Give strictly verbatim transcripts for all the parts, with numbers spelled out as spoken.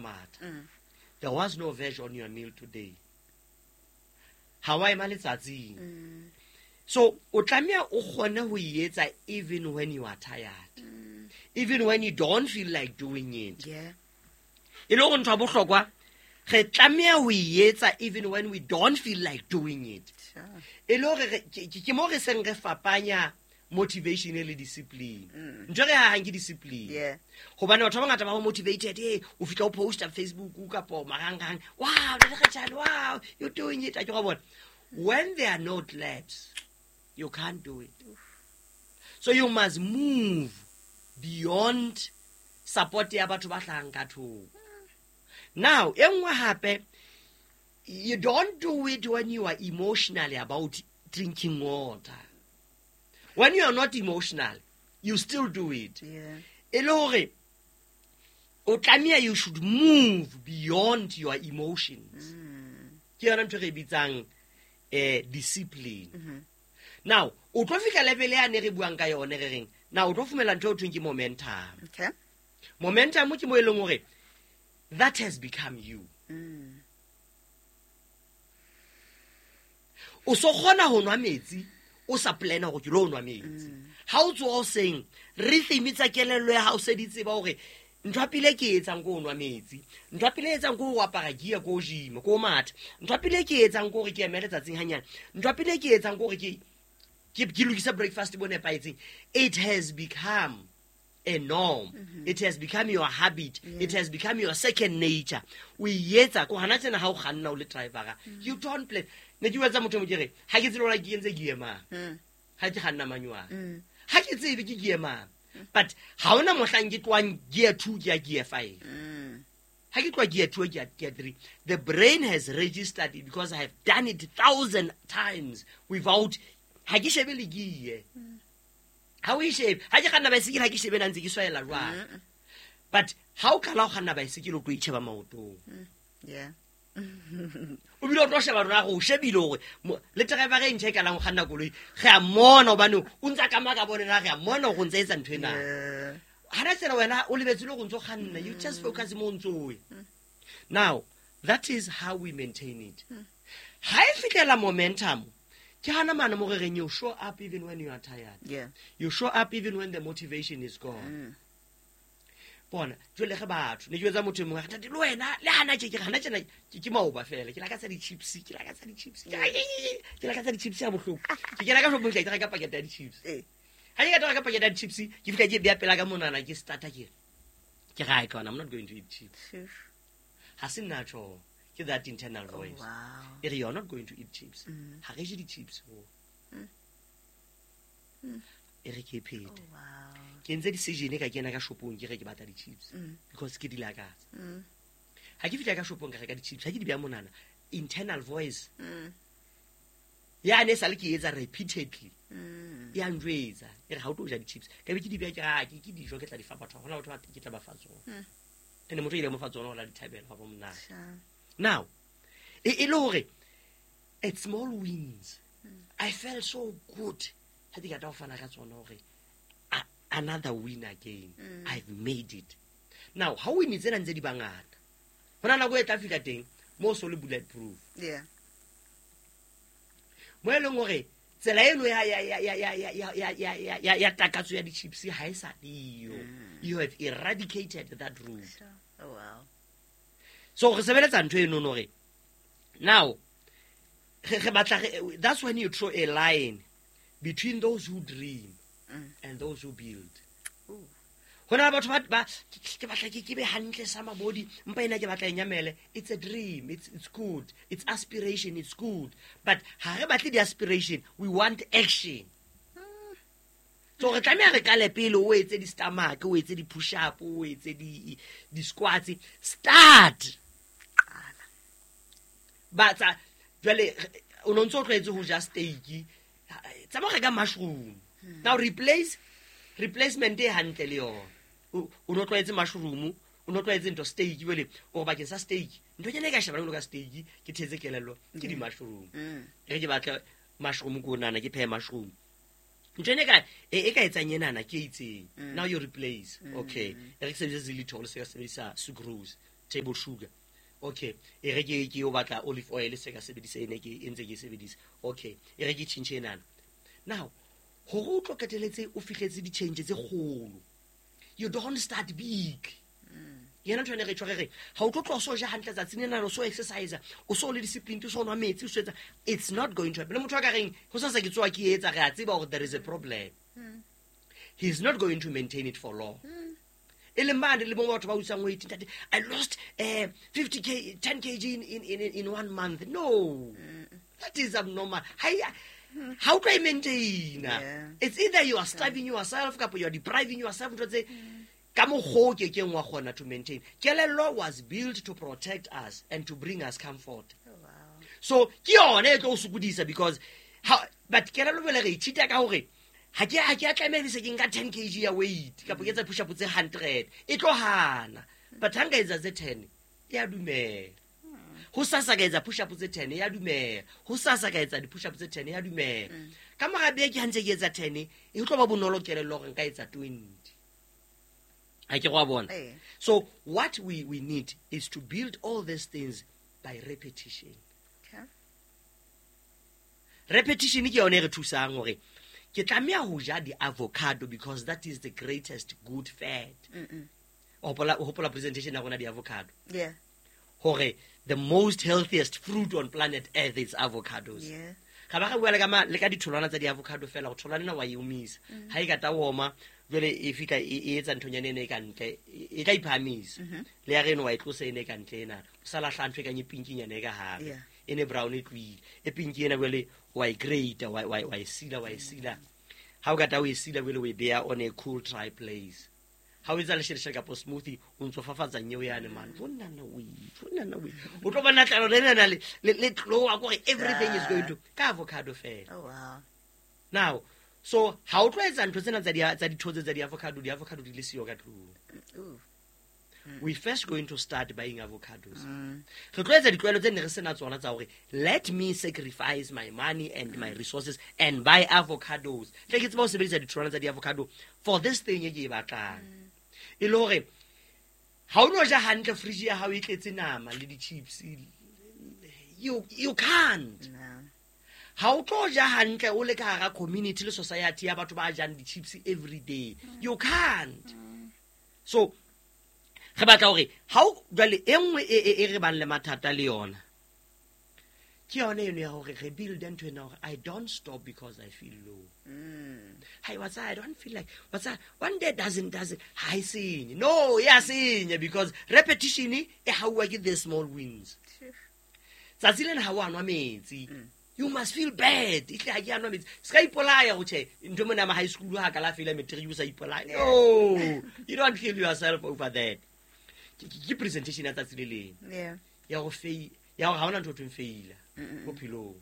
matha. There was no veg on your meal today. Ha wa ema letsatsing. So o tlameha o kgone ho e etsa even when you are tired. Even when you don't feel like doing it. Yeah. E le hore ntho ya bohlokwa, re tlameha ho e etsa even when we don't feel like doing it. Sure. E le hore re- ke ke- ke mo re seng re fapanya motivation le discipline. Ntho e re hahang ke discipline. Yeah. Hobane batho ba bangata ba motivated, eh, o fihla o posta Facebook kapo marangrang, wow, Ntate Kgetjhane, wow, you're doing it. A ke wa bona. When there are no claps, you can't do it. So you must move beyond support ya batho ba hlahang ka thoko. Now, e nngwe hape, you don't do it when you are emotionally about drinking water. When you are not emotional, you still do it. Yeah. E le hore o tlameha you should move beyond your emotions. Ke yona ntho e re e bitsang eh discipline. Now, o tlo fihla level ya ne re buang ka yone re reng, now o tlo fumela ntho e thweng ke momentum. Okay. Momentum ke mo e leng hore that has become you. O so kgona ho nwa metsi, o sa plana hore ke lo nwa metsi. Ha o tsoha hoseng, rhythm tsa kelello ya hao se di tseba hore ntho ya pele ke e etsang ke ho nwa metsi, ntho ya pele e etsang ke ho apara gear ko gym, ko matha, ntho ya pele ke e etsang ke hore ke emele tsatsing hanyane, ntho ya pele ke e etsang ke hore ke ke ke lokise breakfast bo nepahetseng. It has become a norm. It has become your habit. It has become your second nature. O e etsa ko hana tjena ha o kganna o le driver-a, you don't plan. Ne ke bua tsa motho e mong ke re, ha ke tsebe hore ke entse gear mang. Ha ke kganna manual. Ha ke tsebe ke gear mang. But ha hona mohlang ke tlohang gear two ke ya gear five. Ha ke tloha gear two ke ya gear three. The brain has registered it because I have done it thousand times without ha ke shebe le gear. Ha o e shebe, ha ke kganna baesekele ha ke shebe na ntse ke swaela jwang. But ha o qala ho kganna baesekele o tlo itjheba maotong. Yeah. O bile o tlo sheba rona go shebile hore mo-, le driver e ntjha e qalang ho kganna koloi, re a mmona hobane o ntsa ka maka bone na re a mmona hore o ntse etsa ntho ena. Yeah. Hana tsela wena o lebetse le hore o ntso kganna, you just focus mo o ntso o ya. Now, that is how we maintain it. Ha e fihlela momentum, ke hana mane mo re reng you show up even when you are tired. Yeah. You show up even when the motivation is gone. Bona, jwale ge batho, ne ke jwetsa motho e mongwe, a re, Ntate, le wena, le hana tje, ke re, hana tjena, ke, ke maoba fela, ke lakatsa di-chips, ke lakatsa di-chips, ke, ke lakatsa di-chips ya bohloko. Ke kena ka shopong, ke tla reka pakete ya di-chips. Eh. Ha ke ka reka pakete ya di-chips, ke fihla ke e beha pela ka monana, ke starter ke re, ke re, Ai, I'm not going to eat chips. Sure. Ha se nna tjho, ke that internal Oh, voice. wow. E re, you're not going to eat chips. Ha re je di-chips ho. E re ke e phete. Oh, wow. Ke entse decision ka kena ka shopong ke re ke batla di-chips because ke di lakatsa. Ha ke fihla ka shopong ka reka di-chips, ha ke di beha monana, internal voice ya ne sale ke etsa repeatedly. Ya njwetsa, e re ha o tlo ja di-chips. Ka be ke di beha ke re, ah, ke, ke dijo ke tla di fa batho, hona batho ba ke tla ba fa tsona. Ene motho ile mo fa tsona hore a di thabele, hwa ba monate. Sure. Now, e, e le hore at small wins, I felt so good. Ha ke qeta ho fana ka tsona hore a-, another win again. I've made it. Now, ha win tsena ntse di bangata, hona nako e tla fihla teng mo so le bulletproof. Yeah. Mo e leng hore tsela eno ya, ya, ya, ya, ya, ya, ya, ya, ya, ya, ya, ya takatso ya di-chips ha e sa leyo. You have eradicated that route. Sure. Oh, wow. So re sebeletsa ntho eno no hore now re, re batla re, that's when you draw a line between those who dream Mm. and those who build. Ooh. Ho na le batho ba, ba, ke batla ke, ke be hantle sa mabodi, mpa ena ke batla e nyamele. It's a dream, it's, it's good, it's aspiration, it's good. But ha re batle di-aspiration, we want action. So re tlameha re qale pele o etse di-stomach, o etse di-push-up, o etse di, di-squats. Start. Qala. Ba tsa, jwale, o no ntso o tlwaetse ho ja steak, tsamaya o reka mushroom. Now replace, replacement e hantle le yona. O, o no tlwaetse mushroom, o no tlwaetse ntho steak, jwale o re bakeng sa steak, ntho ena e ka shebana jwalo ka steak, ke thetse kelello, ke di-mushroom. Mm. E re ke batle mushroom ko nana, ke phehe mushroom. Ntho ena e ka, e, e ka etsang enana ke e itseng. Mm. Now you replace. Mm. Okay. E re ke sebedise xylitol, se ka sebedisa sucrose. Table sugar. Okay, e re ke ke o batla olive oil se ka sebedisa ene ke e ntse ke e sebedisa. Okay, e re ke tjhentjhe enana. Now, hore o tlo qeteletse o fihletse di-change tse kgolo, you don't start big. Yena ntho ene re tjho re re ha o tlo tloha o so ja hantle tsatsing lena, o so exercise, o so le discipline, o so nwa metsi, o so etsa, it's not going to happen. Le motho a ka reng ho sasa ke tsoha ke etsa, re a tseba hore there is a problem. He's not going to maintain it for long. E leng mane le bongwe batho ba utswang weight, ntate, I lost uh, fifty k, ten kilograms in, in, in, in one month. No, that is abnormal. Ha e- ha o tlo e maintaina. Yeah. It's either you are starving yourself kapa you are depriving yourself, ntho tse ka mokgwa o kekeng wa kgona to maintain. Kelello was built to protect us and to bring us comfort. Oh, wow. So ke yone e tlo o sokodisa because ha, but kelello jwale re ithuta ka hore ha ke ha ke a tlameha se ke nka ten kilograms ya weight kapa ke etsa push up tse hundred, e tlo hana. But ha nka etsa tse ten, e a dumela. Ho sasa ka etsa push up tse ten, e a dumela. Ho sasa ka etsa di-push up tse ten, e a dumela. Ka mora beke ha ntse ke etsa ten, e tlo ba bonolo kelello hore nka etsa twenty. Ha ke go a bona? Eh. So what we, we need is to build all these things by repetition. Okay. Repetition ke yone e re thusang hore ke tlameha ho ja di-avocado because that is the greatest good fat. O hopola, o hopola presentation ya rona di-avocado? Yeah. Hore the most healthiest fruit on planet Earth is avocados. Yeah. Ga ba re bua le ka ma- le ka ditholwana tsa di-avocado fela, go tholwana ena wa e omisa. Ha e ka ta oma, jwale e fihla e e etsa nthonyana ena e ka ntle, e e tla iphahamisa. Le ya reno wa e tlosa ena e ka ntle ena. O sa lahla ntho e kang e pinkinyana e ka hare. Yeah. E ne brown e tlohile. E pinki ena jwale wa e grate, wa wa wa e sila, wa e sila. Ha o ka ta o e sila jwale o e beha on a cool dry place. Ha o etsa lesheleshele kapa smoothie, o ntso fafatsa nyeo yane man. Bonana we, bonana we. O tlo bona tlalo lena le le le tloha kore everything is going to ka avocado fela. Oh, wow. Now, so ha o tlo etsa ntho tsena tsa di tsa dithotse tsa di-avocado, di-avocado di le siyo ka tlung. Ooh. We first going to start buying avocados. Re tlo etsa ditlwaelo tse ne re sena tsona tsa hore let me sacrifice my money and my resources and buy avocados. Tle ke tseba ho sebedisa ditholwana tsa di-avocado for this thing e ke e batlang. E le hore ha o no ja hantle, fridge ya hao e tletse nama le di-chips, you, you can't. No. Ha o tlo ja hantle o le ka hara community le society ya batho ba jang di-chips every day, you can't. So re batla hore ha o jwale e nngwe e, e, e re bang le mathata le yona ke yone eno ya hore re build ntho ena hore I don't stop because I feel low. Hi, what's that? I don't feel like what's that? One day doesn't doesn't ha e senye. No, e a senya because repetition e hauwa ke the small wins. Tsatsi lena ha o a nwa metsi, you must feel bad. E tle ha ke a nwa metsi. Se ka ipolaya ho tjhe, ntho mona ma high school ha ka la feela matric o sa ipolaya. No, you don't kill yourself over that. Ke ke presentation ya tsatsi le leng. Yeah. Ya go fail, ya hore ha hona ntho e thweng faila bophelong.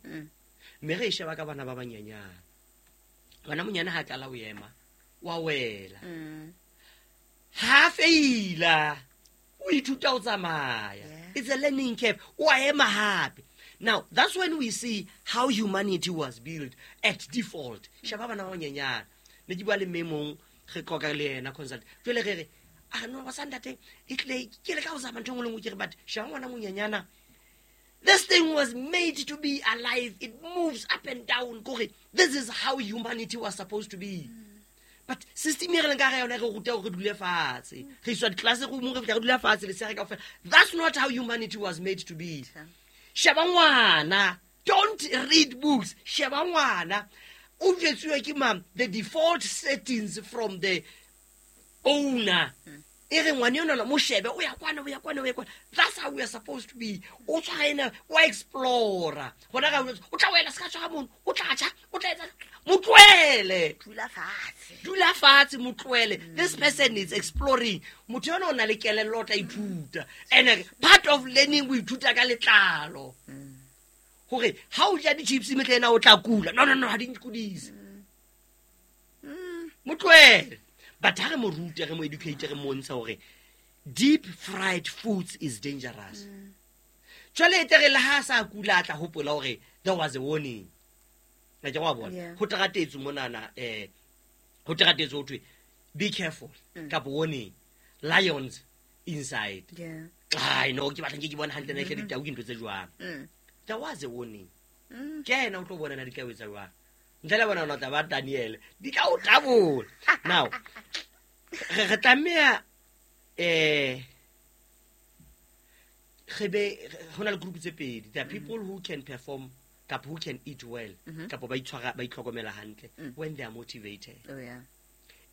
Mme re e sheba ka bana ba banyenyane. Ngwana monyane ha qala ho ema, wa wela. Mm. Ha feila, o ithuta ho tsamaya. Yeah. It's a learning curve. O a ema hape. Now, that's when we see how humanity was built at default. Sheba bana ba banyenyane. Ne ke bua le mme mong, re qoqa le yena consult. Jwale re re, ah no, wa sa ntate, e tle ke le ka ho zama ntho e nngwe le nngwe ke re, but sheba ngwana monyenyana. This thing was made to be alive. It moves up and down. Kore, this is how humanity was supposed to be. But system e re leng ka hara yona e re ruta hore re dule fatshe. Re iswa di-classroom, re fihla re dula fatshe, lesea re kaofela. That's not how humanity was made to be. Sheba ngwana. Don't read books. Sheba ngwana. O jwetsuwe ke mang? The default settings from the owner. E re ngwana enwana mo shebe, o ya kwana, o ya kwana, o ya kwana. That's how we are supposed to be. O tshwara ena, wa explore-a. Hona ka o tla wela se ka tshwara mono, o tla tjha, o tla etsa, mo tlohele. Dula fatshe. Dula fatshe, mo tlohele. This person is exploring. Motho yona o na le kelello, o tla ithuta. And part of learning, o ithuta ka letlalo. Hore ha o ja di-chips mehle ena o tla kula. No, no, no, ha di nkudise. Mo tlohele. But ha re mo rute, re mo educate, re montsha hore deep fried foods is dangerous. Jwale e tle re le ha sa kula a tla hopola hore there was a warning. Na ke wa bona. Yeah. Ho teratetswe monana, eh, ho teratetswe ho thwe be careful Mm. kapa warning, lions inside. Yeah. Ai no, ke batla nke ke bona hantle na ehle ditau ke ntho tse jwang. Mm. There was a warning. Mm. Ke ena o tlo bona na di tla o etsa jwang. Ntle le bona o tla ba Daniel. Di tla o tabola. Now, re re tlameha eh re be ho na le group tse pedi. There are people who can perform kapa who can eat well kapa ba itshwara ba itlhokomela hantle when they are motivated. Oh yeah.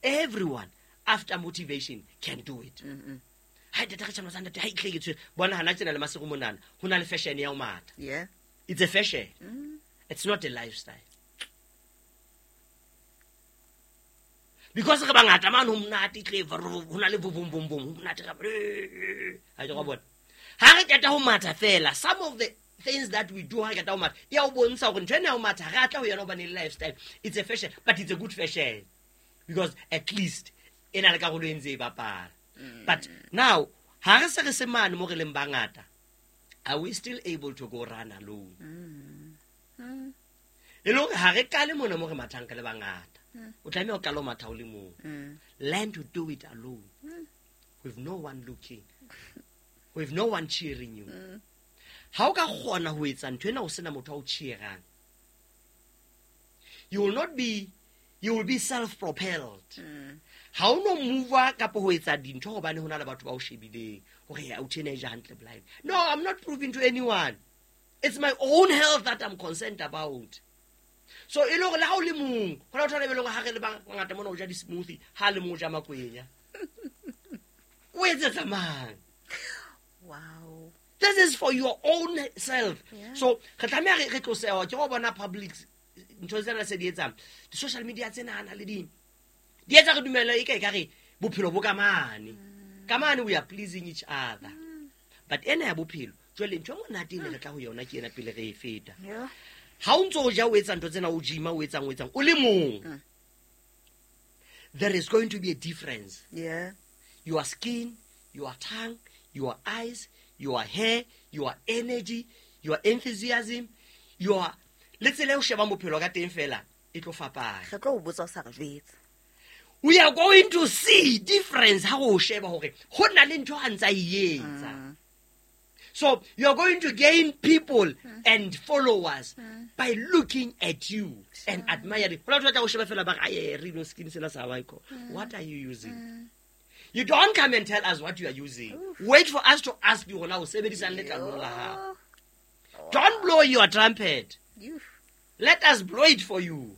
Everyone after motivation can do it. Mm-mm. Ha ntate re tjhana ntate ha itle ke tshwere. Bona hana tsena le masego monana ho na le fashion ya ho matha. Yeah. It's a fashion. Mm. It's not a lifestyle. Because re bangata mane ho monate tle ho na le bo bom bom bom ho monate ka ha ke go bona. Ha re qeta ho matha fela, some of the things that we do ha re qeta ho matha ya o bontsha hore ntho ena ya ho matha re atla ho yona hobane le lifestyle. It's a fashion, but it's a good fashion because at least e na le karolo e ntse e bapala. But now ha re se re se mane mo re leng bangata, are we still able to go run alone? Mm. E le hore ha re kale mona mo re mathang ka le bangata. O tlameha ho qala ho matha o le mong. Mm. Learn to do it alone. With no one looking. With no one cheering you. Ha o ka kgona ho etsa ntho ena o sena motho a o cheerang, you will not be, you will be self-propelled. Mm. Ha o no move kapa ho etsa dintho hobane ho na le batho ba o shebileng hore ya o teenager hantle blind. No, I'm not proving to anyone. It's my own health that I'm concerned about. So e le hore le ha o le mong, ho na le batho ba eleng hore ha re le bangata mona o ja di-smoothie, ha le mong o ja makwenya. O etsetsa mang? Wow. This is for your own self. Yeah. So re tlameha re re tlosewa ke go bona public ntho tsena se di etsang. Di-social media tsena na le di di etsa re dumela e ka e ka re bophelo bo ka mane. Ka mane we are pleasing each other. But ena ya bophelo, jwale ntho e monate e ne re tla ho yona ke ena pele re e feta. Yeah. Ha o ntso o ja o etsa ntho tsena o gym-a o etsang o etsang o le mong. There is going to be a difference. Yeah. Your skin, your tongue, your eyes, your hair, your energy, your enthusiasm, your le tsela eo shebang bophelo ka teng fela e tlo fapana. Re tlo o botsa o sa re jwetse. We are going to see difference ha o sheba hore ho na le ntho a ntsa e etsa. So you are going to gain people and followers by looking at you and admiring. Ho na batho ba tla o sheba fela ba re, "Aye, re no skin sena sa wa iko." What are you using? You don't come and tell us what you are using. Wait for us to ask you hore na o sebedisang letlalong la hao. Don't blow your trumpet. You. Let us blow it for you.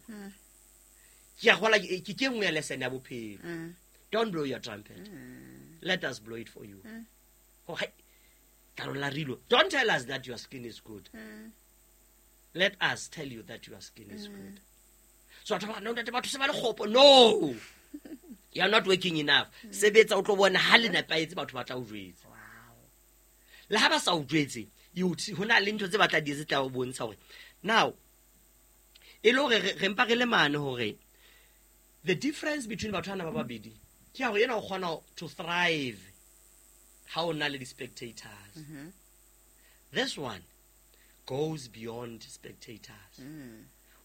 Ke a kgola ke ke nngwe ya lesson ya bophelo. Mm. Don't blow your trumpet. Let us blow it for you. Oh, hai. Letlalo la rilo. Don't tell us that your skin is good. Let us tell you that your skin is good. So batho ba re, no, ntate, batho se ba le kgopo. No. You are not working enough. Sebetsa o tlo bona ha le nepahetse batho ba tla o jwetsa. Wow. Le ha ba sa o jwetse, you see, ho na le ntho tse ba tla di etsa tla o bontsha hore now e le hore re re mpa re le mane hore the difference between batho bana ba babedi ke ya hore yena o kgona to thrive ha o na le di-spectators. This one goes beyond spectators.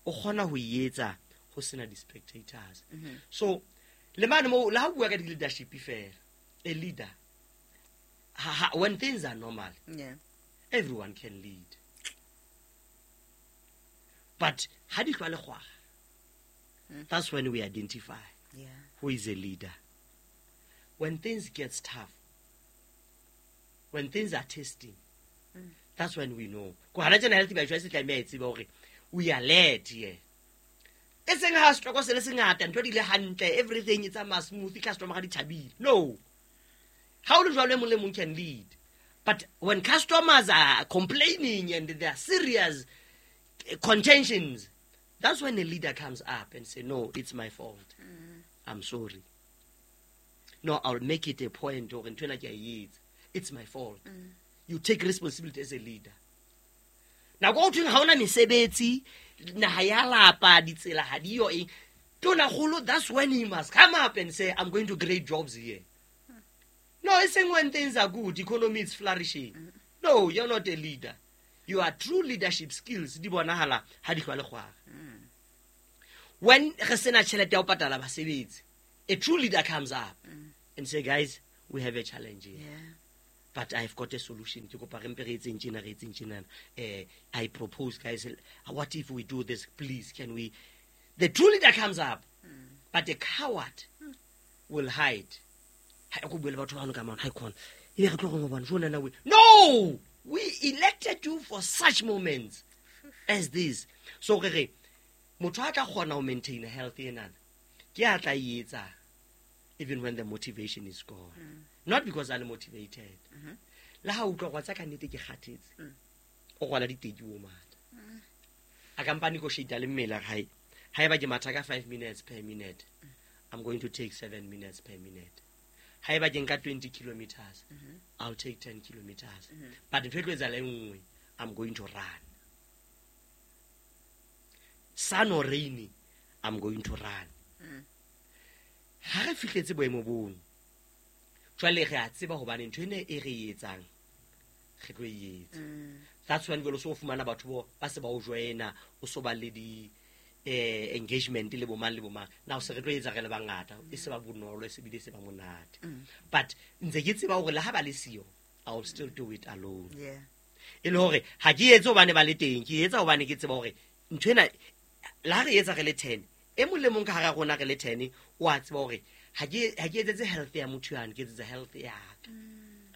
O kgona ho e etsa ho sena di-spectators. So le mane mo le ha o bua ka di-leadership fela, a leader ha, ha, when things are normal, Yeah. everyone can lead. But ha di hlwa le kgwaga, that's when we identify Yeah. who is a leader. When things get tough, when things are testing, that's when we know. Ko hana tjena Healthy by Choice e tlameha e tsebe hore we are led here. E seng ha setoko se le sengata, ntho di le hantle, everything e tsamaya smooth, customer ga di thabile. No. Ha o le jwalo e mong le mong can lead. But when customers are complaining and there are serious eh, contentions, that's when a leader comes up and say, no, it's my fault. I'm sorry. No, I'll make it a point hore ntho ena ke a e etsa. It's my fault. You take responsibility as a leader. Nako o thweng ha hona mesebetsi, naha ya lapa, ditsela ha di yo eng. Tonakgolo, that's when he must come up and say, I'm going to create jobs here. No, it's saying when things are good, economy is flourishing. No, you're not a leader. Your true leadership skills di bonahala ha di hlwa le kgwara. When re sena tjhelete ya ho patala basebetsi, a true leader comes up and say, guys, we have a challenge here. Yeah. But I've got a solution. Ke kopa re mpe re etseng tjena, re etseng tjenana. Eh, I propose, guys, what if we do this? Please, can we? The true leader comes up, but the coward will hide. Ha ko bue le batho bano ka mane, ha e khona. Ebe re tlo reng ho bona, jona na we. No! We elected you for such moments as this. So re re, motho a tla kgona ho maintain health enana, ke a tla e etsa even when the motivation is gone. Not because I'm motivated. Le ha o utlwa gore wa tseba ka nnete ke kgathetse. O rwala diteki o matha. A ka mpa negotiate le mmele a re, hai, haeba ke matha ka five minutes per minute, I'm going to take seven minutes per minute. Haeba ke nka twenty kilometers, I'll take ten kilometers. But ntho e tlo etsahala e nngwe, I'm going to run. Sun or rainy, I'm going to run. Ha re fihletse boemo bono, jwale re a tseba hobane ntho ena e re e etsang, re tlo e etsa. That's when jwale o so fumana batho bo ba se ba o joina, o so ba le di, eh, engagement le bo mang le bo mang. Now se re tlo etsa re le bangata, e se ba bonolo, e se bile se ba monate. But ntse ke tseba hore le ha ba le siyo, I will still do it alone. Yeah. E le hore ha ke etse hobane ba le teng, ke etsa hobane ke tseba hore ntho ena le ha re etsa re le ten, e mong le mong ka hara rona re le ten, o a tseba hore ha ke, ha ke etsetse health ya motho yane, ke etsetsa health ya ka.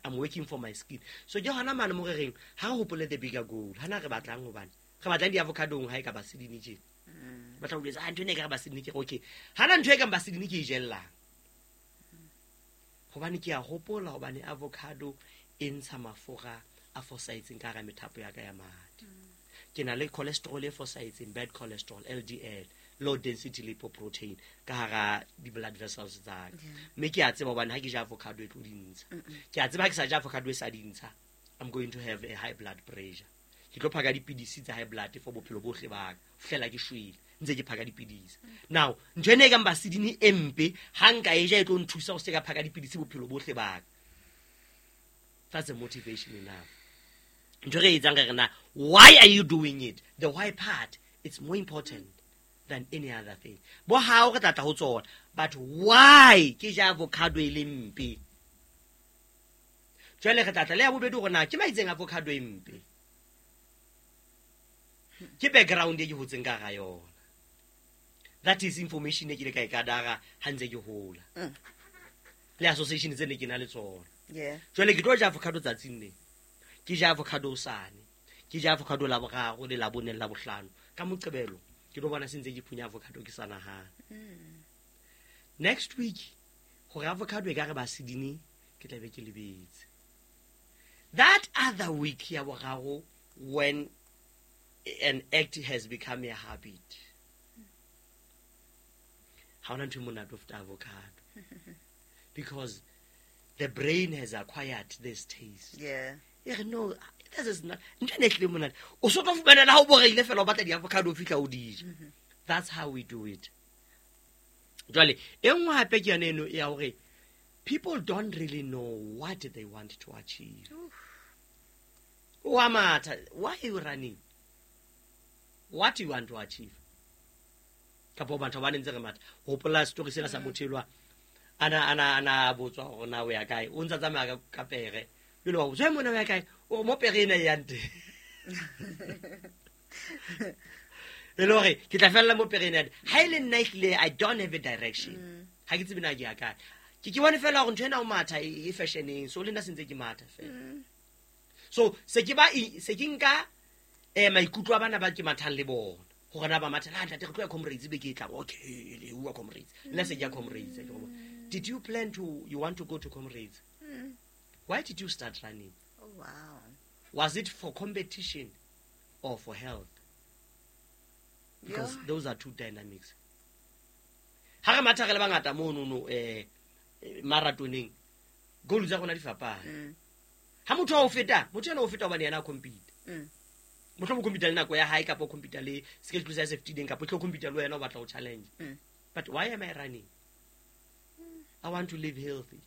I'm working for my skin. So ke hona mane mo re reng, ha re hopole the bigger goal. Hana re batlang hobane re batlang di-avocadong ha e ka basedine tje. Batla ho jwetsa, ah, ntho ena e ka re basedine, ke re, okay. Hana ntho e kang basedine ke e jellang. Hobane ke a hopola hobane avocado e ntsha mafura a fosahetseng ka hara methapo ya ka ya madi. Ke na le cholesterol e fosahetseng, bad cholesterol, L D L, low density lipoprotein ka hara di-blood vessels tsa ka. Mme ke a tseba hobane ha ke ja avocado e tlo di ntsha. Ke a tseba ha ke sa ja avocado e sa di ntsha, I'm going to have a high blood pressure. Ke tlo phaka dipidisi tsa high blood for bophelo bohle ba ka, ho fihlela ke shwele, ntse ke phaka dipidisi. Now, ntho ena e kang basedine e mpe, ha nka e ja e tlo nthusa ho se ka phaka dipidisi bophelo bohle ba ka. That's a motivation enough. Ntho re e etsang re re na, why are you doing it? The why part, it's more important than any other thing. Bo hao re tla tla ho tsona, but why ke ja avocado e le mpe? Jwale re tla tla le ya bobedi hore na ke maitseng avocado e mpe. Ke background e ke hotseng ka hara yona. That is information e ke ile ka e kadara ha ntse ke hola. Mm. Le association tse ne ke na le tsona. Yeah. Jwale ke tlo ja avocado tsatsing le. Ke ja avocado hosane. Ke ja avocado la boraro le la bone le la bohlano. Ka Moqebelo ke tlo bona se ntse ke phunya avocado ke sa nahana. Mm. Next week hore avocado e ka re basedine ke tla be ke lebetse. That other week ya boraro, when an act has become a habit, ha hona ntho e monate ho feta avocado. Because the brain has acquired this taste. Yeah. E re, no, this is not, ntho ena e hlile monate. O so tlo fumana le ha o boreile fela o batla di-avocado o fihla o di ja. Mm-hmm. That's how we do it. Jwale, e nngwe hape ke yone eno ya hore people don't really know what they want to achieve. Oof. Wa matha, why are you running? What do you want to achieve? Kapa batho ba ntse re matha. Hopola story sena sa motho elwa. Ana, ana, ana botswa hore na o ya kae. O ntsa tsamaya ka, ka pere. Jwale wa botsa, Hey, mona o ya kae? O re, mo pere ena e yang teng. E le hore ke tla fella mo pere ena ya teng. Ha e le nna ehlile, I don't have a direction. Mm. Ha ke tsebe na ke ya kae. Ke ke bone fela hore ntho ena o matha e, e fashioneng. So le nna se ntse ke matha fela. Mm. So se ke ba e, se ke nka, eh, maikutlo a bana ba ke mathang le bona. Hore na ba matha, ah, ntate, re tlo ya Comrades beke e tlang. Okay, le bua Comrades. Nna se ke ya Comrades, ke bona. Did you plan to, you want to go to Comrades? Mm. Why did you start running? Oh, wow. Was it for competition or for health? Because Yeah. those are two dynamics. Ha re matha re le bangata mono no, eh, eh, marathoneng, goal tsa rona di fapane. Mm. Ha motho a o feta, motho ena o feta hobane yena a compete. Mm. Mohlomong o compete le nako ya hae, kapa o compete le schedule sa se fetileng, kapa o tlo compete le wena o batla ho challenge. Mm. But why am I running? I want to live healthy.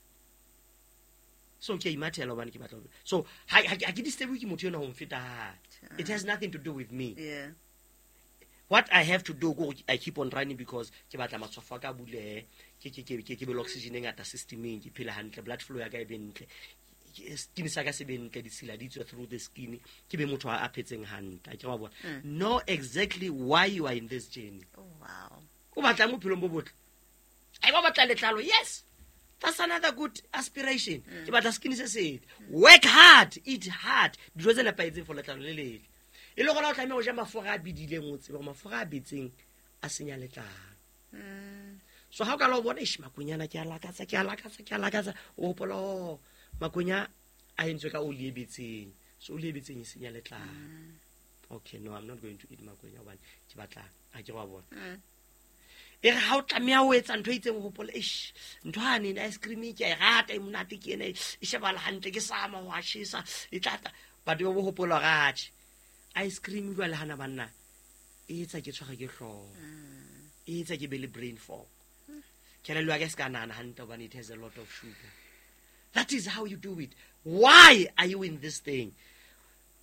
So ke a imathela hobane ke batla ho. So ha, ha, ha ke disturb ke motho ena ho mfeta ha. It has nothing to do with me. Yeah. What I have to do, go, I keep on running because ke batla matshwafo a ka a bulehe, ke, ke, ke, ke, ke be le oxygen e ngata systemeng, ke phele hantle, blood flow ya ka e be ntle. skin sa ka se be ntle, ditshila di tswe through the skin, ke be motho a phetseng hantle. Akere wa bona? Know exactly why you are in this journey. Oh, wow. O batlang bophelong bo botle? Ai, ba batla letlalo? Yes, that's another good aspiration. Ke batla skin se setle. Work hard, eat hard, dijo tse nepahetseng for letlalo le letle. E le gona o tlameha ho ja mafura a bedileng, o tsebe hore mafura a betseng a senya letlalo. So ha o ka la o bona, eish, makwenya ke a lakatsa, ke a lakatsa, ke a lakatsa, o hopola, oh, makwenya a entswe ka oli e betseng, so oli e betseng e senya letlalo. Okay, no, I'm not going to eat makwenya hobane ke batla, ha ke wa bona. E re ha o tlameha ho etsa ntho e itseng, o hopole, eish, ntho hane ice cream ke a e rata, e monate ke ena, e shebahala hantle, ke sama ho a tjhesa, e tlatla. But o bo hopola hore, atjhe, ice cream jwale hana banna, e etsa ke tshware ke hlooho, e etsa ke be le brain fog. Kelello ya ka e se ka nahana hantle hobane it has a lot of sugar. That is how you do it. Why are you in this thing?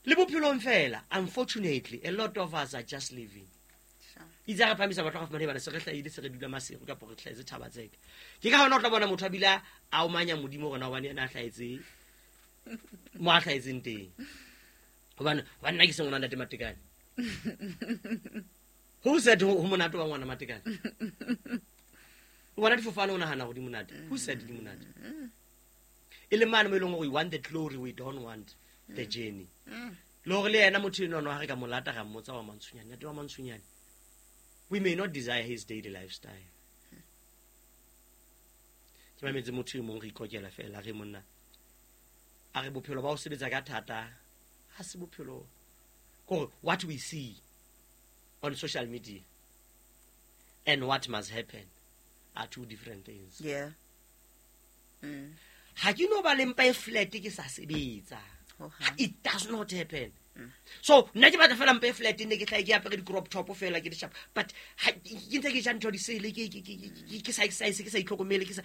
Le bophelong fela, unfortunately, a lot of us are just living. Sure. Itse ha re phahamisa batho ba fumane bana se re hlahile, se re dula Maseru kapa re hlahetse Thaba-Tseka. Ke ka hona o tla bona motho a bile a omanya Modimo hore na hobane yena a hlahetse mo a hlahetseng teng. Hobane, hobane nna ke se ngwana ntate Matekane. Who said ho, ho monate wa ngwana Matekane? O bona difofane o nahana hore di monate. Who said di monate? E le mane mo e leng hore we want the glory, we don't want the journey. Le hore le yena motho eno ha re ka mo lata ra mmotsa wa Mantsonyane, ntate wa Mantsonyane, we may not desire his daily lifestyle. Ke mametse motho e mong re ikokela fela, re monna a re bophelo ba ho sebetsa ka thata ha se bophelo. Kore what we see on social media and what must happen are two different things. Yeah. Mm. Ha ke no ba le mpa e flat ke sa sebetsa. Ho hang. It does not happen. So nna ke batla fela mpa e flat, ne ke tla ke apere di-crop top fela ke di sharp, but ha ke ntse ke ja ntho di sele, ke ke ke ke ke sa exercise, ke sa itlhokomele, ke sa,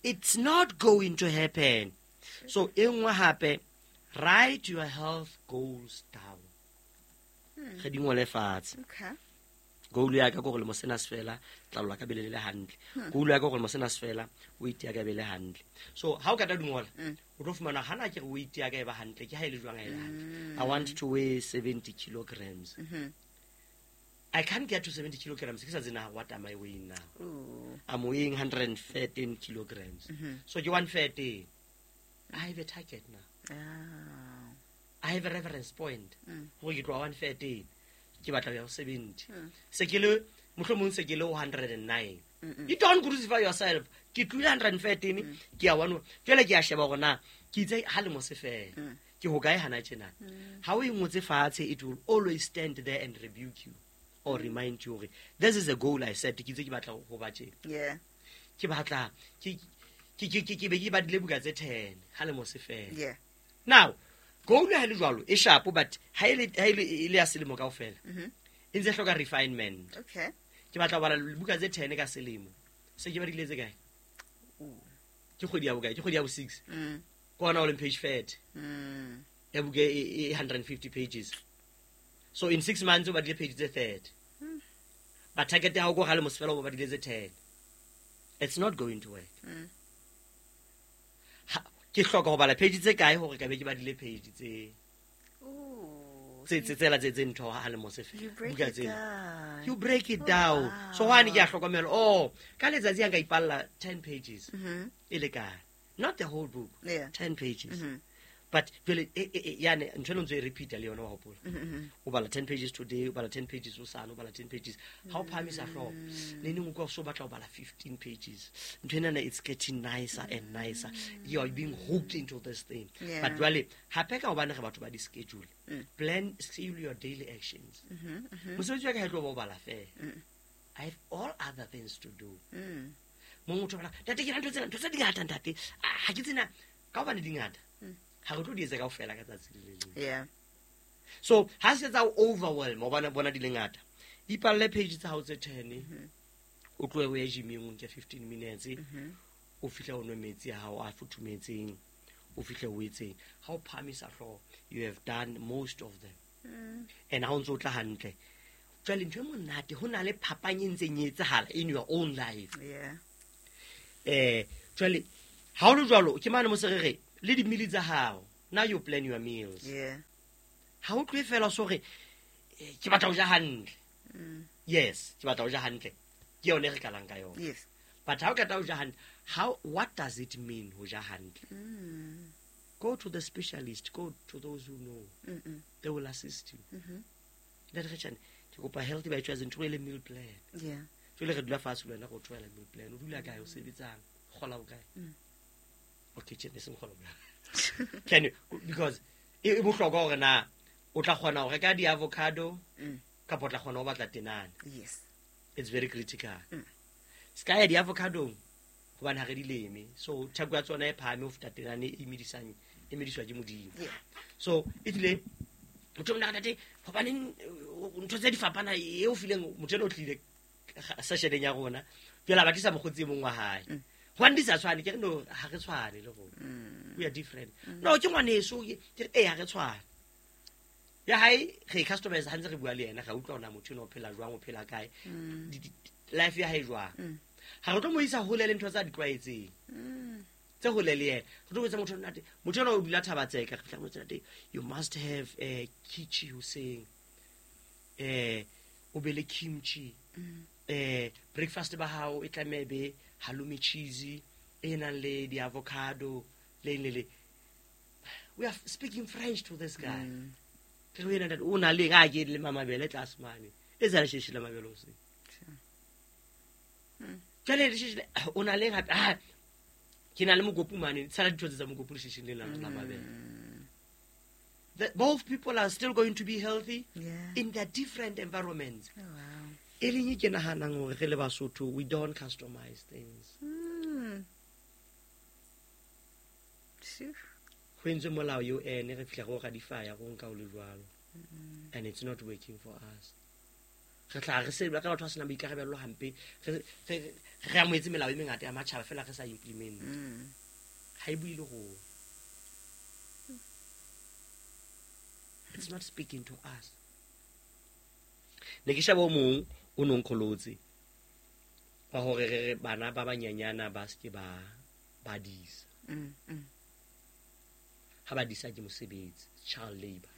it's not going to happen. So e nngwe hape, write your health goals down. Re di ngole fatshe. Okay. Goal ya ka ke hore lemo sena se fela, tlalo la ka be le le hantle. Goal ya ka ke hore lemo sena se fela, weight ya ka be le hantle. So ha o ka tla di ngola, o tlo fumana hana ke re weight ya ka e ba hantle, ke ha e le jwang ha e le hantle. I want to weigh seventy kilograms. I can't get to seventy kilograms ke sa tsebe na what am I weighing now. Ooh. I'm weighing hundred and thirteen kilograms. So ke one thirteen. I have a target now. Ah. I have a reference point. Hore ke tloha one thirteen. Ke batla ho ya ho seventy. Se ke le, mohlomong se ke le ho hundred and nine. You don't crucify yourself. Ke tlohile hundred and thirteen, ke ya one. Jwale ke a sheba hore na ke itse ha lemo se fela. Ke hokae hana tjena. Ha o e ngotse fatshe, it will always stand there and rebuke you or remind you hore this is a goal I set. Ke itse ke batla ho ba tjena. Yeah. Ke batla ke ke ke ke ke be ke badile buka tse ten ha lemo se fela. Yeah. Now, goal ha le jwalo e sharp, but ha e le, ha e le, e le ya selemo kaofela, e ntse hloka refinement. Okay. Ke batla ho bala buka tse ten ka selemo. Se ke badile tse kae? Ke kgwedi ya bokae? Ke kgwedi ya bo six. Mm. Ke hona ho leng page thirty. Mm. Ya buka e, e hundred and fifty pages. So in six months o badile page tse thirty. But target ya hao ke hore ha lemo se fela o badile tse ten. It's not going to work. Mm. Ha, ke hloka ho bala page tse kae hore ka be ke badile page tse Ooh. tse tse tsela tse tse ntho ha lemo se fela. You break Buka it tsena. down. You break it Oh, down. wow. So hwane ke a hlokomela, oh, ka letsatsi ha nka ipalla ten pages. Mm-hmm. E lekane. Not the whole book. Yeah. ten pages. Mm-hmm. But jwale, e, e, e, yane ntho eno ntse e repeat-a le yona wa hopola. Mm-hmm. O bala ten pages today, o bala ten pages hosane, o bala ten pages. Ha o phahamisa hlooho, ne neng o utlwa o so batla ho bala fifteen pages. Ntho enana it's getting nicer and nicer. You are being hooked into this thing. Yeah. But jwale hape ka hobane re batho ba di-schedule, Mm. plan, schedule your daily actions. Mm-hmm. Mm-hmm. Mosebetsi wa ka ha e tlo ba o bala fela. Mm. I have all other things to do. Mm. Mo motho o bala, ntate ke na ntho tsena, ntho tse di ngata ntate. Ah, ha ke tsena, ka hobane di ngata. Mm. Ha re tlo di etsa kaofela ka tsatsi le le leng. Yeah. So ha se tsa o overwhelm, o bona, bona di le ngata. Ipalle page tsa hao tse ten, o tlohe o ye gym-eng o nke fifteen minutes, Mm-hmm. o fihle o nwe metsi a hao a futhumetseng, o fihle o etseng. Ha o phahamisa hlooho, you have done most of them. Mm. And ha o ntso o tla hantle. Jwale ntho e monate, ho na le phapang e ntseng e etsahala in your own life. Yeah. Eh, jwale ha o le jwalo, ke mane mo se re re, Le di-meal tsa hao, now you plan your meals. Yeah. Ha o tlohe fela so re eh, ke batla ho ja hantle. Mm. Yes, ke batla ho ja hantle, ke yone e re qalang ka yona. Yes. But ha o qeta ho ja hantle, how, what does it mean ho ja hantle? Mm. Go to the specialist, go to those who know. Mm-mm. They will assist you. Mhm. Ntate Kgetjhane, ke kopa healthy by choice, ntho e le meal plan. Yeah. Jwale re dula fatshe le wena go tlohela meal plan. O dula kae, o sebetsang, o kgola bokae? Mm. Okay, tjhe, ne seng kgola bokae. Can you, because e e bohlokwa hore na o tla kgona ho reka di-avocado Mm. kapa o tla kgona ho batla tenane. Yes. It's very critical. Mm. Se ka ya di-avocadong hobane ha re di leme, so theko ya tsona e phahame ho feta tenane e medisang, e mediswa ke Modimo. Yeah. So e tlile motho o mona tate, hobaneng eh, ntho tse di fapana e o fileng motho ena o tlile sessioneng ya rona, jwale a batlisa mokgotsi e mong wa hae. Mm. Hobane di sa tshwane, ke re no, ha re tshwane le rona. Mm. We are different. No, ke ngwaneso, ke ke re ee, ha re tshwane. Ya hae re e customize ha ntse re bua le yena, ra utlwa hore na motho ena o phela jwang, o phela kae, Mm. di- di- life ya hae jwang. Mm. Ha re tlo mo isa hole le ntho tsa di tlwaetseng Mm. tse hole le yena. Re tlo botsa motho ntate, motho ena o dula Thabatseka, re fihla re mo jwetsa, ntate, you must have uh, kimchi hoseng, eh o be le kimchi. Mm. eh breakfast ba hao e tlameha e be halloumi cheese e nang le di-avocado le eng le le. We are speaking French to this guy. Mm. Ke re ho yena, ntate, o na le eng? A ke le mabele tlase mane e tsana sheshe la mabele hoseng. Sure. Mm. Jwale le sheshe o na le eng hape? Ah, ke na le mokopu mane, tshala dintho tse tsa mokopu le shesheng le la la mabele. Mm. The, both people are still going to be healthy Yeah. in their different environments. Oh, wow. E leng e ke nahanang hore re le Basotho, we don't customize things. Mm. Phew. Ho entswe molao eo ene re fihla re o ratify-a go nka o le jwalo, and it's not working for us. Re tla re se ka batho ba senang boikarabello hampe, re re re amohetse melao e mengata ya matjhaba fela re sa implement. Mm. Ha e bue le rona. It's not speaking to us. Ne ke sheba o mong o no nkgolotse wa hore re re bana ba banyanyana ba se ke ba ba disa. Mm. Mm. Ha ba disa ke mosebetsi, child labor.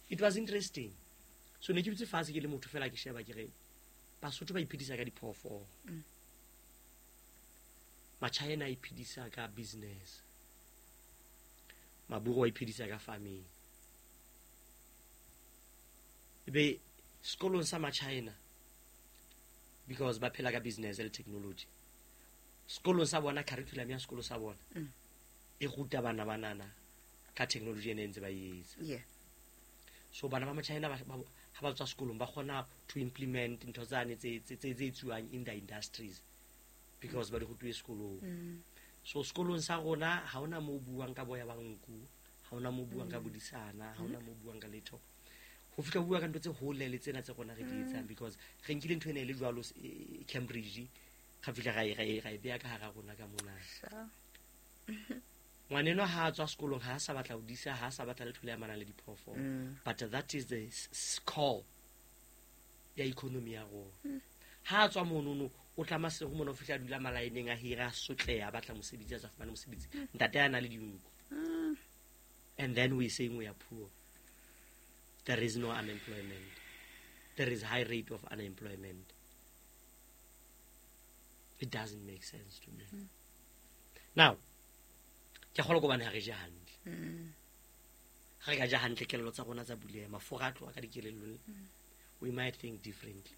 It was interesting. So ne ke dutse fatshe ke le motho fela ke sheba ke re Basotho ba iphedisa ka diphoofolo. Mm. Machina a iphedisa ka business. Maburu a iphedisa ka farming. Ebe sekolong sa Machina, because ba phela ka business le technology, sekolong sa bona, curriculum ya sekolo sa bona Mm. e ruta bana banana ka technology ene e ntse ba e etsa. Yeah. So bana ba Machina ba ba- ha ba tswa sekolong ba kgona to implement ntho tsane tse tse tse tse etsuwang in the industries because ba di rutuwe sekolong. Mm. So sekolong sa rona ha hona mo buang ka boya ba nku, ha hona mo buang ka bodisana, ha hona mo buang ka letho. Ho fihla ho bua ka ntho tse hole le tsena tse rona re di etsang, because re nkile ntho ena e le jwalo eh, Cambridge, ra fihla ra e ra e ra e beha ka hara rona ka mona. Sure. Ngwaneno ha a tswa sekolong ha a sa batla ho disa, ha a sa batla letho le amanang le diphoofolo. Mm. But that is the s- s- core ya economy ya rona. Ha a tswa monono o tla Maseru mona, o fihla a dula malaeneng a hira, a sotleha, a batla mosebetsi, a sa fumane mosebetsi, ntate a na le dinku. Mm. And then we saying we are poor. There is no unemployment. There is high rate of unemployment. It doesn't make sense to me. Now ke kgolwa ke hobane ha re je hantle. Mm. Ha re ka ja hantle, kelello tsa rona tsa buleha, mafura a tloha ka dikelellong, we might think differently.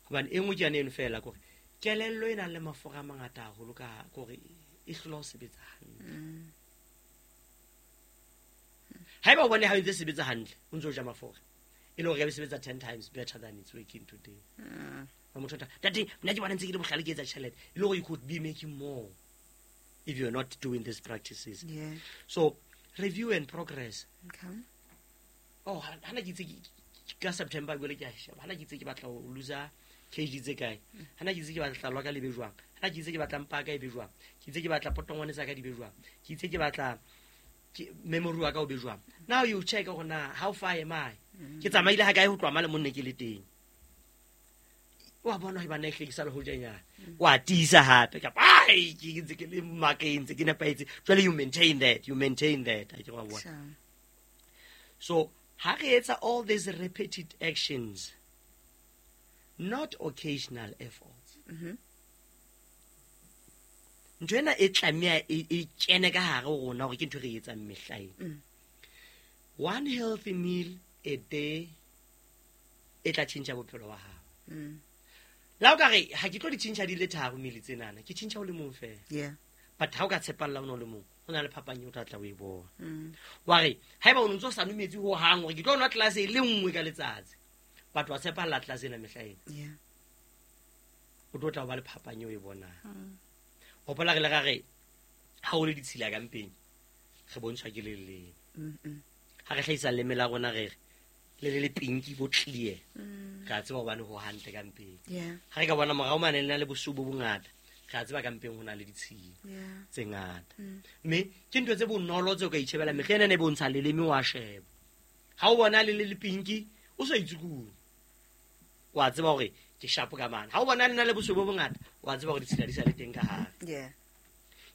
Hobane e nngwe ke yane eno fela, kore kelello e nang le mafura a mangata haholo ka kore e hlola ho sebetsa hantle. Mm. Haeba o bone ha o ntse sebetsa hantle, o ntse o ja mafura, e le hore e be sebetsa ten times better than it's working today. Mm. Wa motho o tla, ntate, nna ke bona ntse ke le bohlale ke etsa tjhelete, e le hore you could be making more if you're not doing these practices. Yeah. So review and progress. Okay. Oh, ha hana ke itse ke- ke- ka September jwale ke a sheba, hana ke itse ke batla ho loser kg tse kae, hana ke itse ke batla tlalo ya ka le be jwang, hana ke itse ke batla mpa ya ka e be jwang, ke itse ke batla potongwane tsa ka di be jwang, ke itse ke batla ke- memory wa ka o be jwang. Now you check hore na how far am I, ke tsamaile ha kae ho tloha male mo nne ke le teng. Wa bona hore bana e hlekisa le ho jenyana. Wa tiisa hape kapa ai ke ntse ke le makeng ntse ke nepahetse. Jwale you maintain that, you maintain that. A ke wa bona. Sure. So ha re etsa all these repeated actions, not occasional efforts. Mhm. Ntho ena e tlameha e e kene ka hare ho rona hore ke ntho e re e etsang mehlaena. Mm. One healthy meal a day e tla tjhentjha bophelo ba hao. Mm. La o ka re ha ke tlo di tjhentjha di le tharo meal tsenana, ke tjhentjha o le mong feela. Yeah. But ha o ka tshepalla ona o le mong, ho na le phapang eo o tla tla o e bona. Mm. Wa re haeba o ntso sa nwe metsi ho hang hore ke tlo nwa tlelase e le nngwe ka letsatsi, but wa tshepalla tlelase ena mehla ena, Yeah. o tlo tla o ba le phapang eo o e bonang. Mm. Hopola re le ra re ha o le ditshila ka mpeng, re bontshwa ke leleme. Mm. Mm. Ha re hlahisa leleme la rona re re le le le pinki bo clear, Mm. re a tseba hobane ho hantle ka mpeng. Yeah. Ha re ka bona morao mane le na le bosweu bo bongata, re a tseba ka mpeng ho na le ditshila Yeah. tse ngata. Mm. Mme ke ntho tse bonolo tseo ka itjhebela mehla ena e bontsha leleme wa sheba. Ha o bona le le le pinki, o sa itsukunya, wa tseba hore ke sharp ka mane. Ha o bona le na le bosweu bo bongata, wa tseba hore ditshila di sa le teng ka hare. Yeah.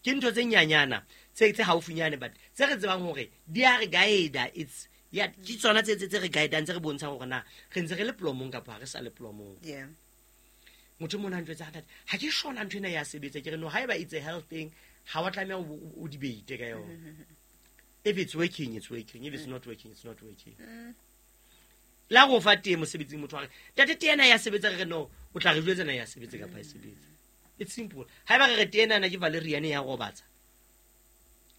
Ke ntho tse nyanyana tse tse haufinyane, but tse re tsebang hore di a re guide. It's ya ke tsona tse tse tse re guidang, tse re bontshang hore na re ntse re le plomong kapa ha re sa le plomong. Yeah. Motho mona a ntjwetsa, ntate ha ke shona ntho ena ya sebetsa. Ke re no, haeba it's a health thing, ha wa tlameha o o debate ka yona. If it's working, it's working. If it's not working, it's not working. Mm. La go fa tee mosebetsing, motho wa re ntate tee ena ya sebetsa, re re no, o tla re jwetsa na ya sebetsa kapa ha e sebetse. It's simple. Haeba re re tee ena ke valerian ya robatsa,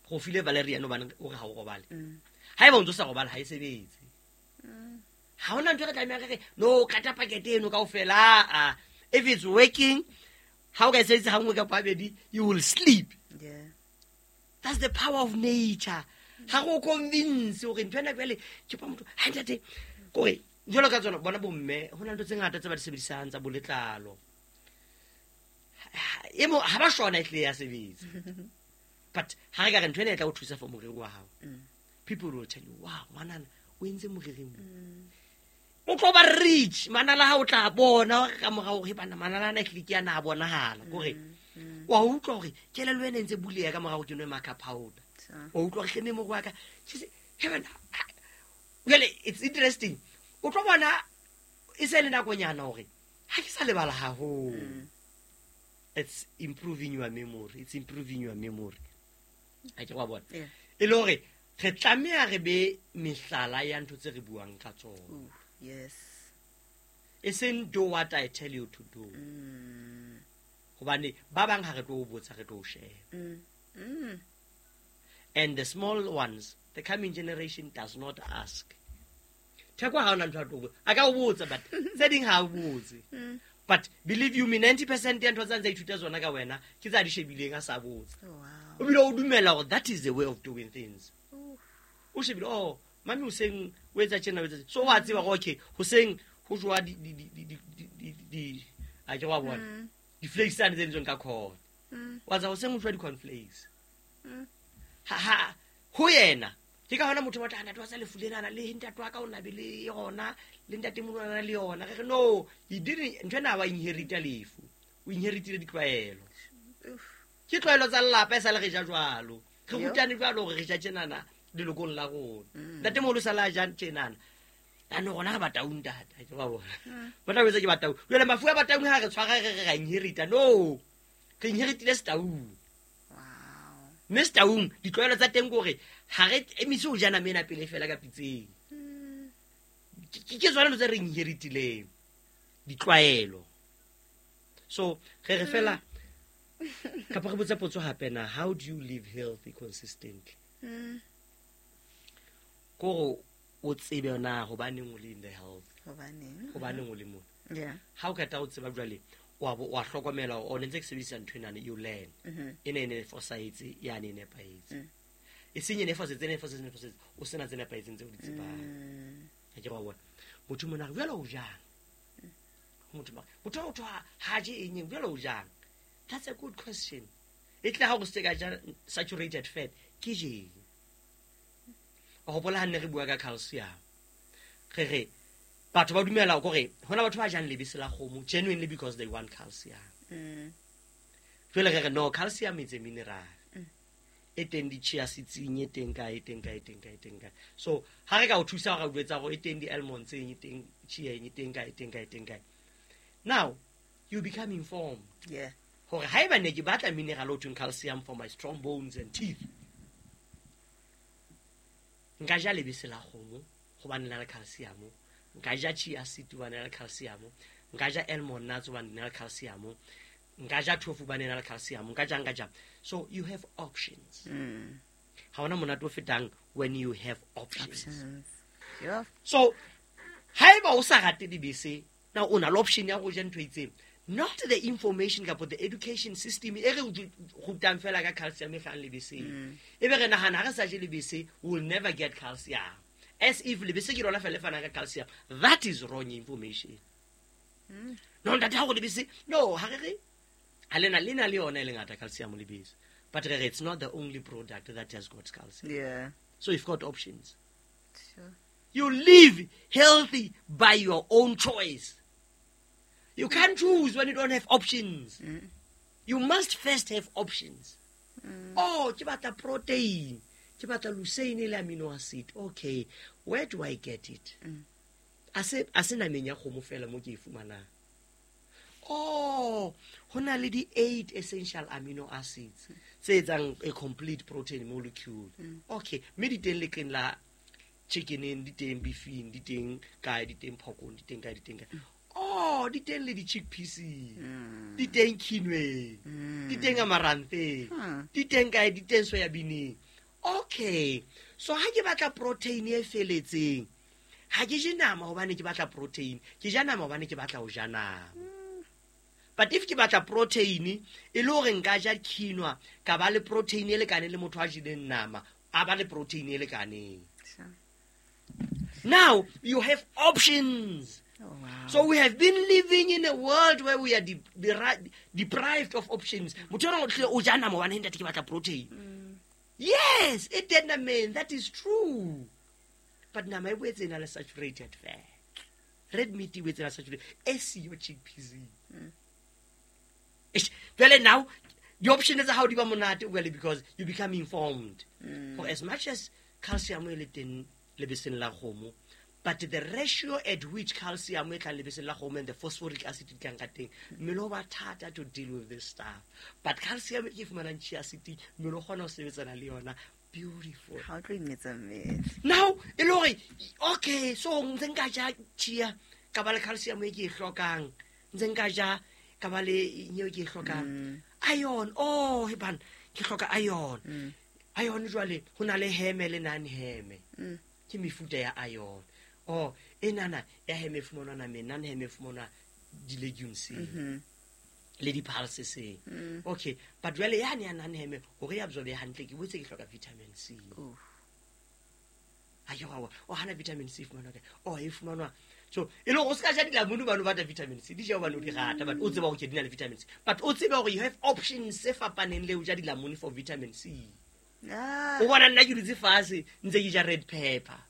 go file valerian hobane o re ha o robale. Mm. Haeba o ntso sa robale, ha e sebetse. Mm. Ha hona ntho e re tlamehang re re no kata pakete eno kaofela. Ah, if it's working, ha o ka e sebedisa ha nngwe kapa habedi, you will sleep. Yeah. That's the power of nature. Ha go convince hore ntho ena jwale ke pa motho ha ntate kore jwalo ka tsona bona bomme ho na le ntho tse ngata tse ba di sebedisang tsa bo letlalo. Ha- e mo ha ba shona e tle ya sebetsa, but ha re ka re ntho ena e tla o thusa for moriri wa hao, Mm. people will tell you, wow, ngwanana o entse moriring mo. Mm. O tlo ba rich manala ha o tla bona hore ka morao hore bana manala ana ehlile ke ana a bonahala kore Mm. wa utlwa hore kelello ena e ntse buleha ka morao ke nwe makeup powder. So. Wa utlwa hore hleme moriri wa ka She say, "Hey, bana, ah." Jwale it's interesting, o tlo bona e se le nakonyana hore ha ke sa lebala haholo. Mm. It's improving your memory, it's improving your memory. Ha ke wa bona. Yeah. E le hore re tlameha re be mehlala ya ntho tse re buang ka tsona. Ooh, yes. E seng do what I tell you to do. Mm. Hobane ba bang ha re tlo o botsa, re tlo o sheba. Mm. Mm. And the small ones, the coming generation does not ask. Theko ha ona ntho a tlo botsa, a ka o botsa, but tse ding ha o botse. Mm. But believe you me, ninety percent ya ntho tsa ntse a ithuta tsona ka wena ke tsa di shebileng a sa botse. Oh, wow. O bile o dumela hore that is the way of doing things. Ooh. O shebile, oh mami hoseng o etsa tjena, o etsa tjena. So wa tseba hore okay hoseng ho jowa di di di di di di di a ke wa bona Mm. di-flakes tsane tse entsweng ka corn. Mm. Wa tsa hoseng ho jowa di-cornflakes. Mm. Ha ha ho yena ke ka hona motho wa tla ntate wa tsa lefu lenana le ntate wa ka o na be le yona le ntate moholo o na le yona. Re re no, he didn't, ntho ena ha wa inherita lefu, o inheritile ditlwaelo. Oof. Ke tlwaelo tsa lelapa e sa le re ja jwalo, re Yo. rutane jwalo hore re ja tjenana lelokong la rona. Mm. Ntate moholo sa le a jang tjenana, jaanong rona re bataung ntate, ha ke ba bona. Mm. Ba tla botsa ke bataung. Jwale mafu a bataung ha re tshwara re re ra inherita, no, re inheritile setaung. Wow. Mme setaung ditlwaelo tsa teng ke hore ha re emise ho ja nama ena pele fela ka pitseng. Mm. Ke ke tsona ntho tse re inheritileng, ditlwaelo. So re re fela kapa re botse potso hape na, how do you live healthy consistently? Mm. Kore o tsebe na hobaneng o le in the health, Hobaneng? hobaneng o le mona. Yeah. Ha o qeta ho tseba jwale, wa bo wa hlokomela hore o ne ntse ke sebedisa ntho enana, you learn. Mhm. Ena e ne e fosahetse, yane e nepahetse. Mm. E seng e ne e fosahetse, e ne e fosahetse, e ne e fosahetse, o sena tse nepahetseng tseo o di tsebang. Mm. Ha ke re wa bona. Motho mona re, jwale o jang? Motho mona, motho wa motho ha, ha je eng eng, jwale o jang? That's a good question. E tle ha o se ka ja saturated fat, ke jeng? Wa hopola ha nne re bua ka calcium. Re re Batho ba dumela gore hona batho ba jang lebese la kgomo genuinely because they want calcium. Mm. Jwale re re no, calcium is a mineral. E teng di-chia seeds-eng, e teng kae, e teng kae, e teng kae, e teng kae. So ha re ka o thusa gore o jwetsa gore e teng di-almonds-eng, e teng chia-eng, e teng kae, e teng kae, e teng kae. Now you become informed. Yeah. Hore haeba ne ke batla mineral o thweng calcium for my strong bones and teeth, nka ja lebese la kgomo hobane le na le calcium, nka ja chia seed hobane le na le calcium, nka ja almond nuts hobane di na le calcium, nka ja tofu hobane e na le calcium, nka ja, nka ja. So you have options. Mm. Ha hona monate o fetang when you have options. Options. Yeah. So haeba o sa rate dibese, now o na le option ya go ja ntho e itseng. Not the information kapa the education system e re rutang fela ka calcium e hlahang lebeseng. Mm. E be re nahana ha re sa je lebese, we will never get calcium. As if lebese ke lona fela le fanang ka calcium. That is wrong information. Mm. No, ntate, ha go lebese, no, ha re re, ha le na, le na le yona e le ngata calcium lebese. But re re, it's not the only product that has got calcium. Yeah. So you've got options. Sure. You live healthy by your own choice. You can't choose when you don't have options. Mm. You must first have options. Mm. Oh, ke batla protein. Ke batla leucine le amino acid. Okay, where do I get it? Mm. A se, a se nameng ya kgomo fela mo ke e fumanang. Oh, ho na le di eight essential amino acids tse etsang a complete protein molecule. Mm. Okay, mme di teng leqeng la chickeneng, di teng beefing, di teng kae, di teng porkong, di teng kae, di teng kae. Oh, di teng le di-chickpeaseng, Mm. di teng quinoeng, Mm. di teng amarantheng, Hmm. di teng kae, di teng soya beaneng. Okay, so ha ke batla protein e feletseng, ha ke je nama hobane ke batla protein, ke ja nama hobane ke batla ho ja nama. But if ke batla protein, e le hore nka ja quinoa, ka ba le protein e lekaneng le motho a jeleng nama, a ba le protein e lekaneng. Sure. Now you have options. Oh, wow. So we have been living in a world where we are de-, de-, deprived of options. Motho enwa o tlile o ja nama hobane ntate ke batla protein. Mm. Yes, it did mean that is true. But nama e boetse e na le saturated fat. Red meat e boetse e na le saturated. E siyo chickpeas. Mm. Eish, jwale now the option tsa hao di ba monate well because you become informed. Mm. For as much as calcium e le teng lebeseng la kgomo, but the ratio at which calcium e tlang lebeseng la kgomo and the phosphoric acid di tlang ka teng, mmele o ba thata to deal with this stuff. But calcium e ke fumanang chia seed, mmele o kgona ho sebetsana le yona. Beautiful. Ha o tlo imetsa mmele. Now, e le hore, okay, so ntse nka ja chia, ka ba le calcium e ke e hlokang, ntse nka ja, ka ba le eng eo ke e hlokang. Mm. Iron, oh, he bana, ke hloka iron. Mm. Iron jwale, ho na le heme le non-heme. Mm. Ke mefuta ya iron. Oh, enana ya heme e fumanwa nameng, non-heme e fumanwa di-legumes-eng, Mm-hmm. le di-pulses-eng. Mm. Okay, but jwale yane ya non-heme, hore e absorb-e hantle, ke boetse ke hloka vitamin C. Oof. Ha ke wa bona, oh, hana vitamin C e fumanwa kae? Oh, e fumanwa. So, e le hore o ska ja dilamunu hobane o batla vitamin C, di ja hobane o di rata, but o tseba hore ke di na le vitamin C. But o tsebe hore you have options tse fapaneng le ho ja dilamunu for vitamin C. Ah. O bona nna ke dutse fatshe ntse ke ja red pepper.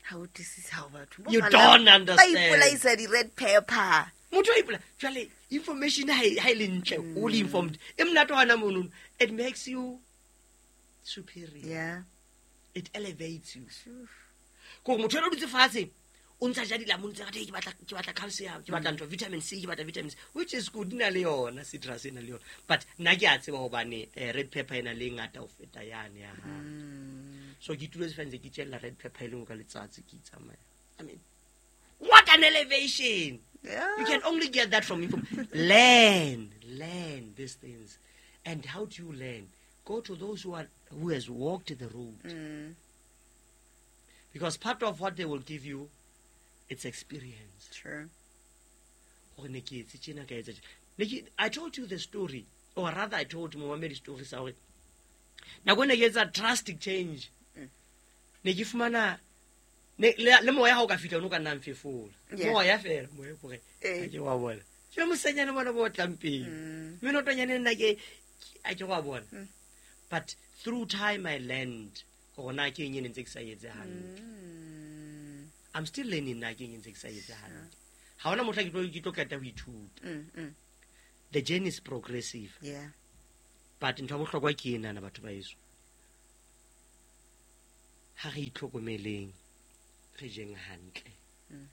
Ha o utlwisise ha o batho. You Ba don't ba understand. ipolaisa di-red pepper. Motho a ipola-, jwale information ha e, ha e le ntle, o le informed. E monate hona monono. It makes you superior. Yeah. It elevates you. Sure. Kore motho enwa o dutse fatshe, o ntsa ja dilamunu tse ngata, ke batla, ke batla calcium, ke batla ntho, vitamin C, ke batla vitamin C, which is good, di na le yona, citrus e na le yona. But nna ke a tseba hobane, eh, red pepper e na le e ngata ho feta yane ya hae. Mm. So ke ituletse fela ntse ke itjella red pepper e le nngwe ka letsatsi ke itsamaya. I mean, what an elevation! Yeah. You can only get that from info. Learn, learn these things. And how do you learn? Go to those who are, who has walked the road. Mm. Because part of what they will give you, it's experience. True. Hore ne ke etse tjena, ka etsa tjena. Ne ke, I told you the story, or rather I told momamedi story sa hore nako e ne ke etsa drastic change. Mm. Ne ke fumana, ne, le, le moya ha o ka fihla, o no ka nna mfefola. Yeah. Moya fela, moya hore, Eh. ha ke wa bona. Ke mosenyane bona bo tlang pele. Mm. Menotonyane nna ke, ha ke wa bona. Mm. But through time I learned hore na ke eng e ne ntse ke sa etse hantle. Mm. I'm still learning nna ke eng ntse ke sa etse hantle. Ha hona mohla ke tlo ke tlo qeta ho ithuta. Mm, mm. The journey is progressive. Yeah. But ntho ya bohlokwa ke enana batho ba heso. Ha re itlhokomeleng, re jeng hantle. Mm.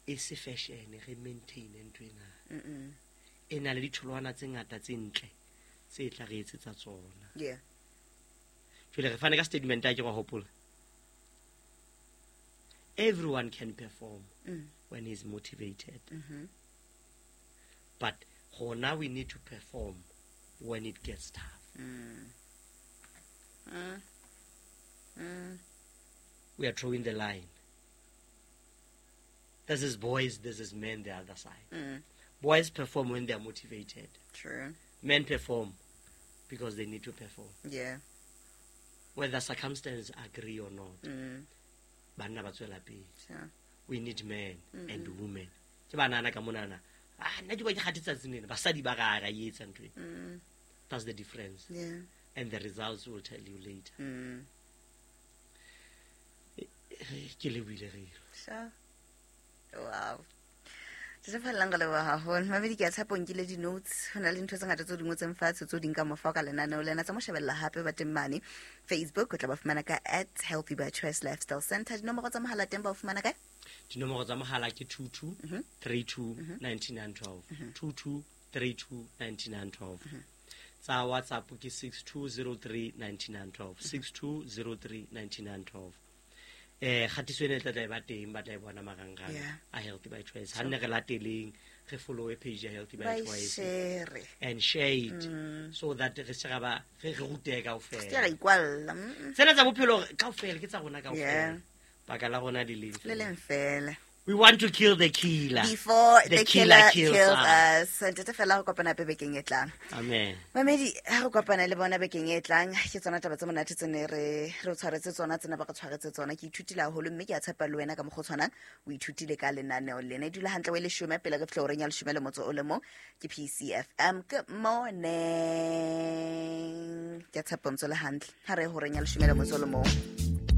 E se fashion, re maintain ntho ena. Mm -mm. E na le ditholwana tse ngata tse ntle tse tla re etsetsa tsona. Yeah. Jwale re fane ka statement a ke wa hopola. Everyone can perform Mm. when he's motivated. Mm-hmm. But rona we need to perform when it gets tough. Mm. Mm. Mm. We are drawing the line. This is boys, this is men the other side. Mm. Boys perform when they are motivated. True. Men perform because they need to perform. Yeah. Whether circumstances agree or not. Mm. Banna ba tswela pele. Sure. We need men and women. Ke banana ka monana. Ah, nna ke ba ke kgathetse tsatsing lena. Basadi ba ga ra e etsa ntho e. Mm. That's the difference. Yeah. And the results will tell you later. Mm. Ke lebohile re. Sure. Wow. Tse fellang ka leboha haholo. Mamedi ke a tshepa o nkile di-notes. Ho na le ntho tse ngata tseo di ngotseng fatshe tseo di nka mofa ka lenaneo lena. Tsa mo shebella hape ba teng mane Facebook, o tla ba fumana ka at Healthy by Choice Lifestyle Center. Dinomoro tsa mohala teng ba o fumana kae? Dinomoro tsa mohala ke two two three two ninety-nine twelve. two two three two ninety-nine twelve. Tsa WhatsApp ke six two zero three ninety-nine twelve. six two zero three ninety-nine twelve. Eh, kgatiso ena e tla tla e ba teng, ba tla e bona marangrang Yeah. a Healthy by Choice. Ha nne re lateleng, re follow page ya Healthy by Ba e Choice share. and share it so that re se ra ba re re rutehe Se ra kaofela. ikwalla. Mm. Tsena tsa bophelo kaofela ke tsa rona kaofela. Yeah. Baka la rona le leng Le feela. leng feela. We want to kill the killer. Before The the killer killer kills kills us. us. Ntate fela ho kopana hape bekeng e tlang. Amen. Mamedi, ha re kopana le bona bekeng e tlang, ke tsona taba tse monate tse ne re re o tshwaretse tsona, tsena ba re tshwaretse tsona. Ke ithutile haholo mme ke a tshepa le wena ka mokgwa o tshwanang o ithutile ka lenaneo lena. E dula hantle o e leshome pele re fihla horeng ya leshome le motso o le mong. Ke P C F M. Good morning. Ke a tshepa o ntso le hantle. Ha re ye horeng ya leshome le motso o le mong.